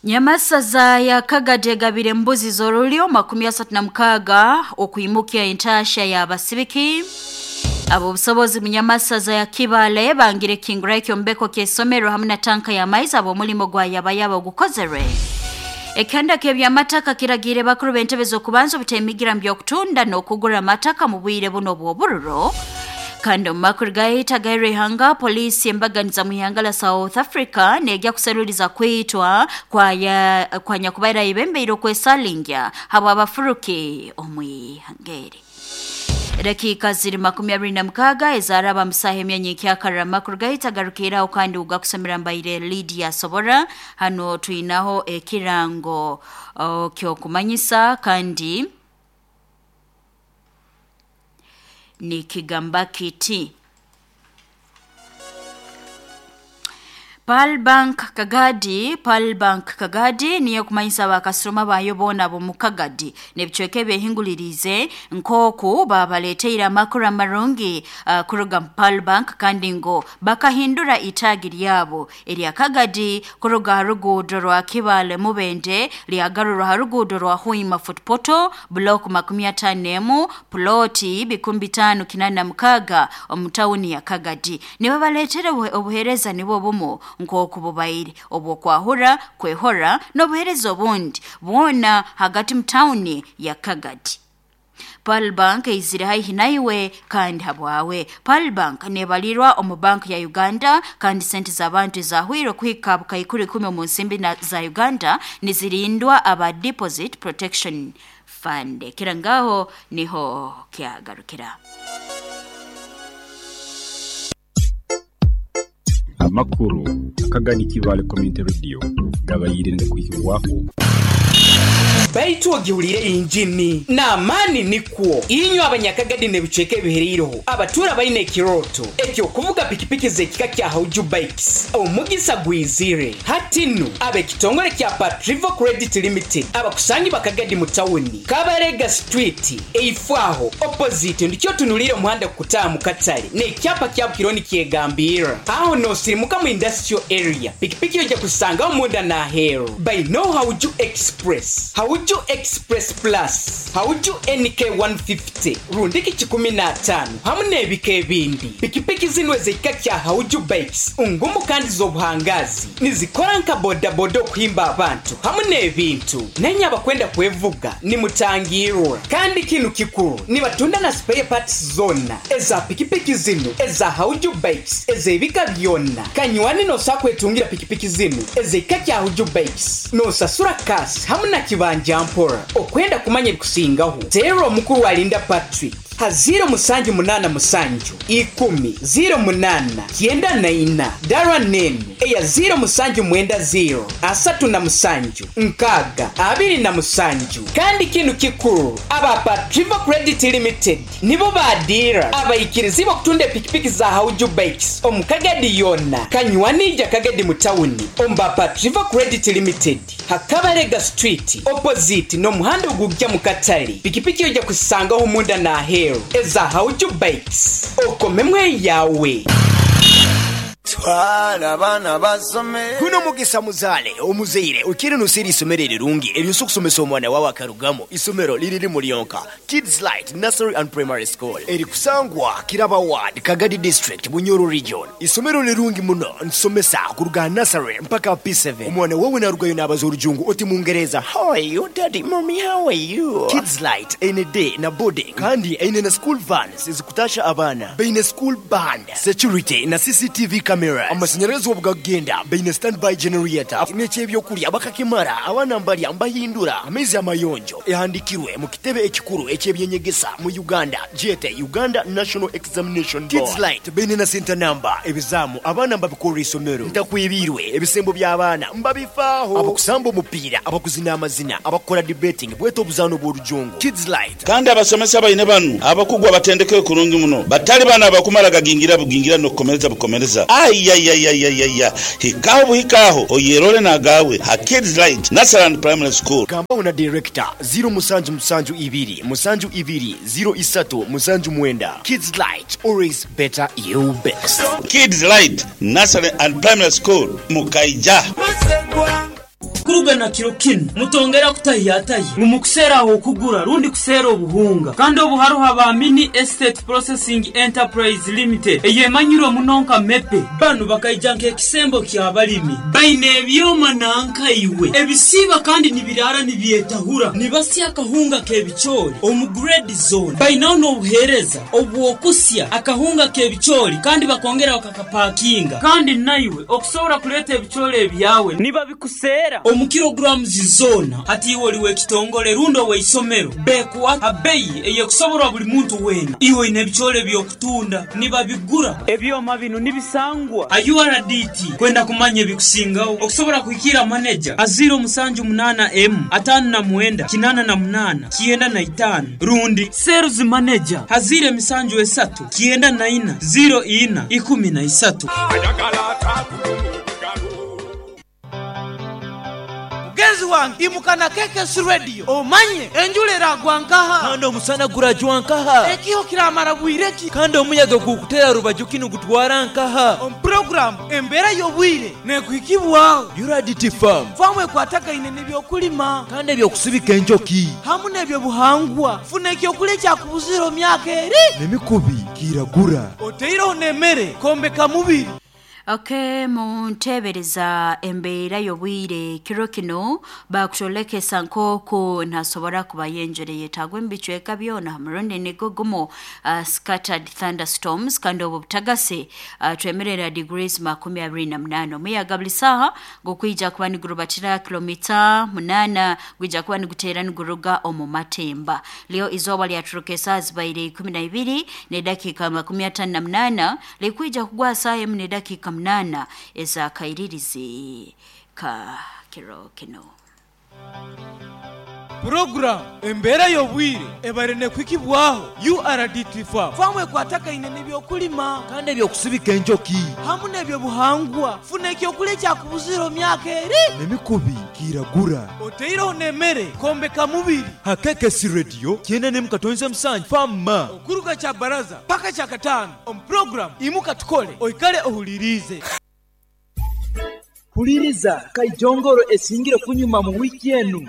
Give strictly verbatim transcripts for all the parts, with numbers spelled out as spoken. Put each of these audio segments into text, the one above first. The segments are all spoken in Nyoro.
Nyamasaza ya Kagadi egabire mbuzi z'orulyo makumi asatu na mukaaga okwimukia entasha ya basibiki. Abo obusobozi munyamasaza ya Kibale bangire kingura ekyombeko ky'esomero hamwe na tanka ya maizi abo omulimo gwa yabayaba ogukozerwe. Ekanda k'ebyamataka kiragire bakuru b'entebe z'okubanza obutemigira mu by'okutunda n'okugura amataka mu bwire buno bw'obururo. Kandi omu makuru gahita gairihanga polisi embaganiza mu ihanga la South Africa nejja kuseruliza kwitwa kwa ya, kwa nyakubaira ibembeire okwesalingya habwa abafuruki omwihangeri. Dakika ziri makumi abiri na mukaaga ezaraba musaha emyanya ekyakarra amakuru gahita garukiraho kandi ugakusomera mbaire Lydia Sobora. Hano twinaho ekirango kyokumanyisa kandi nikigamba kiti Pearl Bank Kagadi. Pearl Bank Kagadi niyo kumanyisa abakasitoma bayo boona ab'omu Kagadi n'ebicweka ebyehingulirize nk'oku babaleteire amakuru amarungi uh, kuruga mu Pearl Bank kandi ngo bakahindura itaagi ryabo erya Kagadi kuruga ha ruguudo rwa Kibale Mubende lyagarurwa ha ruguudo rwa Huima Footpoto block makumi ataano n'emu ploti bikumi bitaano kinaana na mukaaga omu tawuni ya Kagadi. Nibabaleetera obuheereza nibwo bumu nk'oku bubaire obwokwahura kwehora n'obuheereza obundi bwona hagati mu tawuni ya Kagadi. Pearl Bank eizire haihi naiwe kandi habwawe. Pearl Bank nebalirwa omu bank ya Uganda kandi sente z'abantu ezahwire kuhika bukaikuru ikumi omu nsimbi za Uganda nizirindwa aba Deposit Protection Fund. Kira ngaho niho kyagarukira. Amakuru akagani Kibale Community Radio gabayirinde kuhibwaho. Baitu ogihulire injini n'amaani nikwo inywe abanyakagadi n'ebicweka ebihereireho abatura baine ekiroto ekyokuvuga pikipiki z'ekika kya Hauju Bikes omugisa gwizire hatinu ab'ekitongole kya Patrivo Credit Limited abakusangi bakagadi mu tawuni Kabarega Street eifwaho opposite ndikyo tunulire omuhanda kukutaaha mu katale n'ekyapa kya Bukironi kyegambira aho nosirimuka mu industrial area pikipiki ojja kusangaho munda n'aheeru by no Hauju Express Hauju Express Plus, Hauju N K one fifty, rundiki kikumi na ataano hamu n'ebika ebindi. Pikipiki zino ez'ekika kya Hauju Bikes ngumu kandi z'obuhangazi nizikora nka bodaboda okuhimba abantu hamu n'ebintu. Nenye abakwenda kwevuga nimutangirwa kandi kinu kikuru nibatunda na spare parts zonna eza pikipiki zino eza Hauju Bikes ez'ebika byonna. Kanywani nosa kwetungira pikipiki zino ez'ekika kya Hauju Bikes nosasura kasi hamu na kibanja mpora. Okwenda kumanya ebikusingaho teera omukuru alinda Patrick ha ziro musanju munana musanju ikumi ziro munana kyenda na ina dara nene eya ziro musanju mwenda ziro asatu na musanju nkaga abiri na musanju. Kandi kinu kikuru aba Patrivo Credit Limited nibo badira abayikirizi bokutunda pikipiki za Hauju Bikes omukagadi yonna kanywanija Kagadi mu tawuni omba Patrivo Credit Limited Hakabarega Street opposite n'omuhanda ogujja mu katale. Pikipiki ojja kusangaho munda n'aheeru eza Hauju Bikes okomemwe yawe. Twala abaana basome. Guno mugisa muzaale omuzaire okiri nusiri isomero erirungi eryosa okusomesa omwana wawe akarugamo. Isomero liriri mulyonka Kids Light Nursery and Primary School erikusangwa Kiraba Ward, Kagadi District, Bunyoro Region. Isomero lirungi muno nsomesa kuruga nursery mpaka P seven. Omwana wawe narugayo n'abaza orujungu oti mungereza how are you daddy mommy how are you. Kids Light ene day na boarding kandi ene na school vans ezikutasha abaana baine school band security na C C T V cameras. Amashanyarazi obugagenda baine standby generator n'ekyebyokulya bakakimara abaana mbalya mbahindura amaizi amayonjo ehandikirwe mu kitebe ekikuru ekyebyenyegesa mu Uganda jete Uganda National Examination Board. Kids Light baine na center number ebizamu abaana mbabikora isomero ntakwibirwe ebisembo by'abaana mbabifaaho abakusamba omupiira abakuzina amazina abakora debating bweta obuzaano bw'orujungu. Kids Light kandi abasomesa baine banu abakugwa batendeke kurungi muno batali bana abakumara gagingira bugingira n'okukomereza bukomereza ayayayayaya hikaho buhikaho oyerole nagawe ha Kids Light Nursery and Primary School. Gamba na director zero musanju musanju ibiri musanju ibiri zero isatu musanju mwenda. Kids Light always better you best. Kids Light Nursery and Primary School Mukaija. Okuruga na kiro kinu mutongera kutahiyatahi mumukuseraho okugura rundi kusera obuhunga kandi obuharuha ba Mini Estate Processing Enterprise Limited eyemanyirwe munonka mepe banu bakaija nk'ekisembo ky'abalimi baine ebyoma nankaiwe ebisiba kandi nibirara nibyetahura nibasya akahunga k'ebicoori omu grade zone bainaho n'obuheereza obw'okusya akahunga k'ebicoori kandi bakongera bakakapakinga kandi naiwe okusobora kuleeta ebicoori ebyawe nibabikusera omu kilograms zona hati iwe oliwe ekitongole rundi oweisomero bekuwa abeyi eyekusoborwa buli muntu wena iwe oine ebicoori ebyokutunda nibabigura ebyoma bino nibisangwa a U R D T kwenda kumanya ebikusingaho okusobora kuhikira manager a zero musanju munana m atano na mwenda kinana na munana kienda na itano rundi sales manager hazire emisanju esatu kienda na ina zero ina ikumi na isatu. Mugenzi wange imukana keke si radio omanye enjula eragwa nkaha kandi omusana gurajwa nkaha ekiho kiramara bwireki kandi omuyaga gukutera rubaju kinu gutwara nkaha omu program embeera y'obwire nekuhikibwaho U R D T farm famu ekwatagaine n'ebyokulima kandi ebyokusibika enjoki hamu n'ebyobuhangwa funa ekyokulya ekyakubuzira omyaka eri n'emikubi kiragura oteireho n'emmere kombeka mubiri. Okay, muntebereza embeera y'obwire kiro kino bakutolekesa nk'oku ntasobora kubayenjere yetagwa embicweka byona murundi nigo gumu uh, scattered thunderstorms kandi obwo butagase uh, twemerera degrees makumi abiri na munana omuyaga buli saha gukwija kuba nigurubatira kilomita munana gwija kuba niguteera niguruga omu matemba. Leo izooba lyaturuka esaaha zibaire ikumi na ibiri n'edakiika makumi atano na munana likwija kugwa saaha emu n'edakiika munana ezakairirizi ka kiro kino. Program embeera y'obwire ebare nekwikibwaho U R D T farm famu ekwatagaine n'ebyokulima kandi ebyokusibika enjoki hamu n'ebyobuhangwa funa ekyokulya ekyakubuzira omyaka eri n'emikubi kiragura oteireho n'emmere kombeka mubiri hakeke si radio kyenda nemu katonze musanju fama okuruga kya baraza paka kya katano omu program imuka tukole oikale ohulirize. Huliriza kaijongoro esingire kunyuma mu wiki enu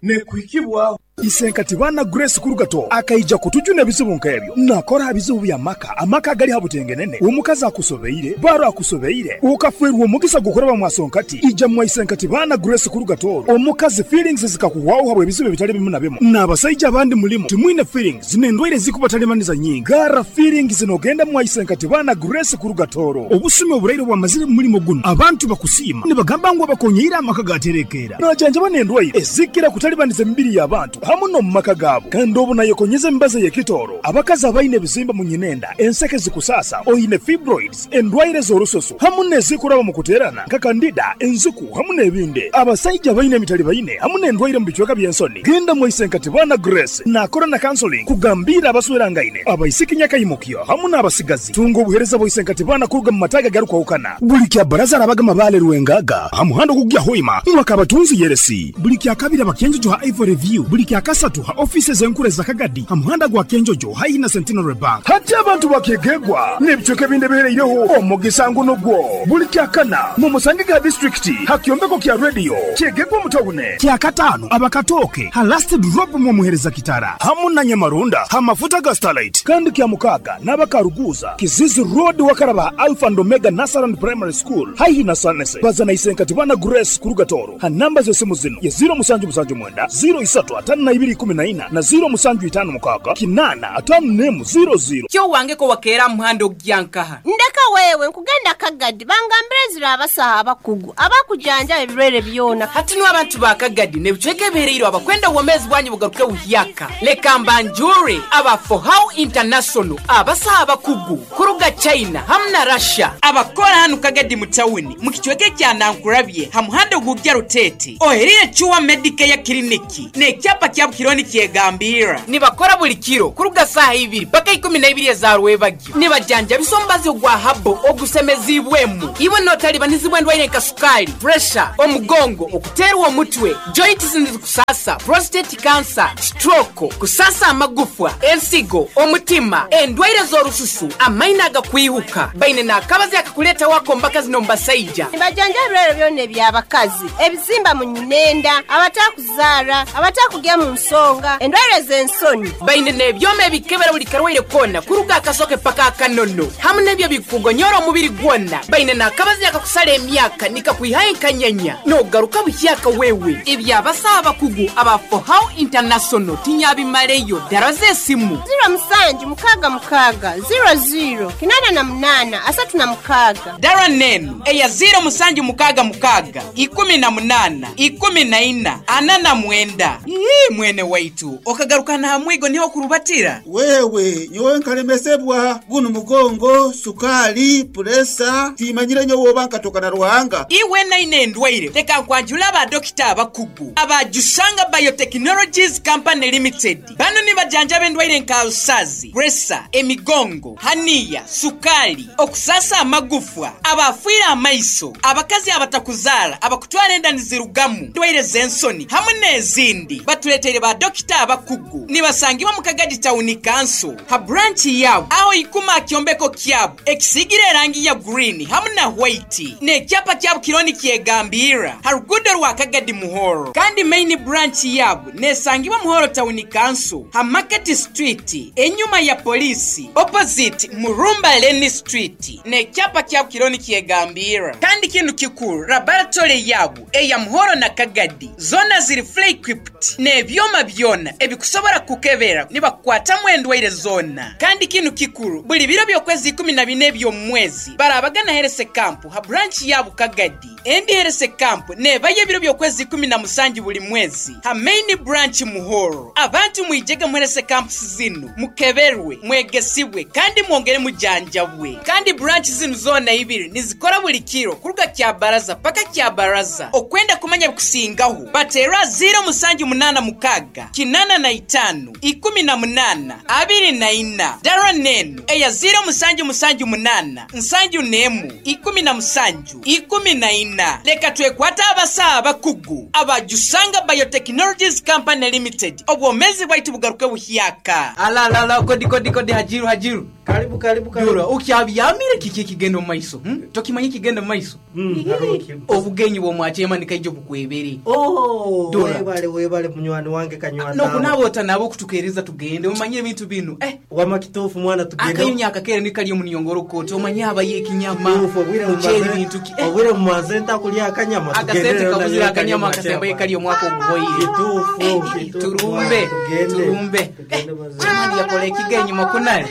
nekuhikibwaho Isenkati bana Grace Kurugato akaija kutujuna ebizibu nkebyo nakora ebizibu bya maka amaka gali habutengenene omukazi akusobeire baro akusobeire ukafwerwa omugisa gukoraba mwasonkati ija mwa Isenkati bana Grace Kurugato omukazi feelings zikakuwaho habwe ebizibu bitali bimu na bimu n'abasajja abandi mulimo timwine feelings n'endwaire zikubatalemaniza nyingi gara feelings zinogenda mwa Isenkati bana Grace Kurugatoro obusumi oburaire bwamazire mulimo guno abantu bakusiima nibagamba ngu abakonyeira amaka gaterekera najanja banendwaire ezikira kutalibaniza emibiri y'abantu hamu no mumaka gabo kandi obu nayekonyeza embaza y'ekitoro abakazi abaine ebizimba mu nyinenda enseke zikusasa oine fibroids endwaire z'orusoso hamu n'ezikuraba mu kuterana nka kandida enzuku hamu n'ebindi abasajja baine emitali baine hamu n'endwaire mu bicweka by'ensoni genda mu Isenkati bana Grace nakora na counseling kugambira abaswerangaine abaisiki nyakayimukyo hamu n'abasigazi tunga obuhereza bwa Isenkati bana kuruga mu mataga garukwahukana buli kya baraza arabaga mabale rwengaga hamuhando kugya hoima mwakabatunzi yeresi buli kya kabiri abakenjojo ha Ivory View buli kya kasatu ha offices enkure za Kagadi hamuhanda gwa Kenjojo haina Centenary Bank hati abantu bakegegwa n'ebicweka ebindi ebihereireho omugisa nguno gwo buli kya kana mu Musangiga district hakyombeko kya radio kyegegwa mutawune kya katano abakatoke ha last drop mu muhereza kitara hamu na Nyamarunda ha mafuta ga Starlight kandi kya mukaga n'abakaruguza Kizizi Road wakaraba Alpha and Omega Nasaran Primary School haihi na Sanese bazana Isenkati bana Grace Kurugatoro ha namba z'esimu zino ye zero musanju musanju mwenda zero isatu atano na ibiri kumi na ina na zero musanju itano mukaga kinana atano nemu zero zero. Kyo wange ko wakera muhando gyankaha ndeka wewe nkugenda Kagadi bangambire zira abasaha abakugu abakujanja ebirwere byona hati no abantu ba Kagadi nebicweke ebihereire abakwenda obwomezi bwanyu bugaruke buhyaka leka mbanjure aba for how international abasaha abakugu kuruga China hamwe na Russia abakora hano Kagadi mu tawuni mu kicweke kya Nankurabye hamuhando gugya Rutete oherire Chuwa Medicare Clinic ne kyapa Kyabo kironi kyegambira nibakora buli kiro kuruga saaha ibiri paka ikumi na ibiri ezarwebagyo. Nibajanjabisa omubazi ogwa habo ogusemezibwemu iwe notalibanizibwa endwaire nka sukali, puresha, omugongo, okuterwa omutwe, joints nizikusasa, prostate cancer, stroke, kusasa amagufwa, ensigo, omutima, endwaire z'orususu, amaino agakwihuka. Baine n'akabazi akakuleta wako mbakazi nombasaija. Nibajanja ebirwere byona eby'abakazi, ebizimba mu nyinenda, abatakuzaara, abatakugya mu nsonga, endwaire z'ensoni. Baine n'ebyoma ebikebera buli karwaire kona kuruga akasoke paka akanono, hamu n'ebyo bikugonyora omubiri gwona. Baine n'akabazi akakusala emyaka nikakwihayo enkanyanya nogaruka buhyaka wewe. Ebyabasa abakugu aba Fohow International tinyabimaleyo. Dara z'esimu ziro musanju mukaaga mukaaga ziro ziro kinana na munana asatu na mukaaga. Dara nenu eya ziro musanju mukaaga mukaaga ikumi na munana ikumi na ina ana na mwenda. Ii, mwene waitu okagaruka na hamwigo niho kurubatira. Wewe nyowe nkalemesebwa guno mugongo, sukali, puresa, timanyire nyowe oba nkatoka na Ruhanga. Iwe naine endwaire leka nkwanjula abadokita abakugu abajusanga Biotechnologies Company Limited. Bano nibajanjaba endwaire nka alusazi, puresa, emigongo, haniya, sukali, okusasa amagufwa, abafiire amaiso, abakazi abatakuzaara, abakutwara enda nizirugamu, endwaire z'ensoni hamwe n'ezindi. Batuleteire ba dokita abakugu nibasangibwa mu Kagadi Town Council ha branch yabo aho ikuma akyombeko kyabo ekisigire erangi ya green hamwe na white n'ekyapa kyabo kironi kyegambira ha rugudo rwa Kagadi Muhoro. Kandi main branch yabo nesangibwa Muhoro Town Council ha Market Street enyuma ya polisi opposite Murumba Lane Street n'ekyapa kyabo kironi kyegambira. Kandi kintu kikuru, laboratory yabo eya Muhoro na Kagadi zona ziri fully equipped n'ebyoma byona ebikusobora kukebera nibakukwatamu endwaire zona. Kandi kinu kikuru, buli biro by'okwezi ikumi na bine eby'omwezi barabagana herese kampu ha branch yabo Kagadi. Endi herese kampu nebayo ebiro by'okwezi ikumi na musanju buli mwezi ha main branch Muhoro. Abantu mwijege muherese kampu zinu mukeberwe, mwegesibwe kandi mwongere mujanjabwe. Kandi branch zinu zona ibiri nizikora buli kiro kuruga kya baraza paka kya baraza. Okwenda kumanya bikusingaho batera ziro musanju munana mukaga kinana na itanu ikumi na munana abiri na ina. Dara nenu eya ziro musanju musanju munana nsanju nemu ikumi na musanju ikumi na ina. Leka twekwata abasa abakugu abajusanga Biotechnologies Company Limited. Obwomezi bwaitu bugaruke buhyaka. Ala ala ala, kodi kodi kodi, hajiru hajiru, karibu karibu karibu. Dura ukyabyamire kiki kigenda mu maiso, hmm? Tokimanyi kigenda mu maiso. Mm, obugenyi bwomwachema nikaijo bukwebere. Oh, webale webale munywani wange kanywani. No kunabota nabo kutukereza tugende umanye ebintu bino. Eh, wama kitufu mwana tugende. Akayunya akakere nikali omunyongoro kote omanye abaye ekinyama. Obwire bintu ki? Eh. Obwire mumaze kulya akanyama tugende. Akasente kabuzira akanyama akasemba kali omwaka oguhoire. Kitufu, turumbe, turumbe. Jamani yakole kigenyi makunale.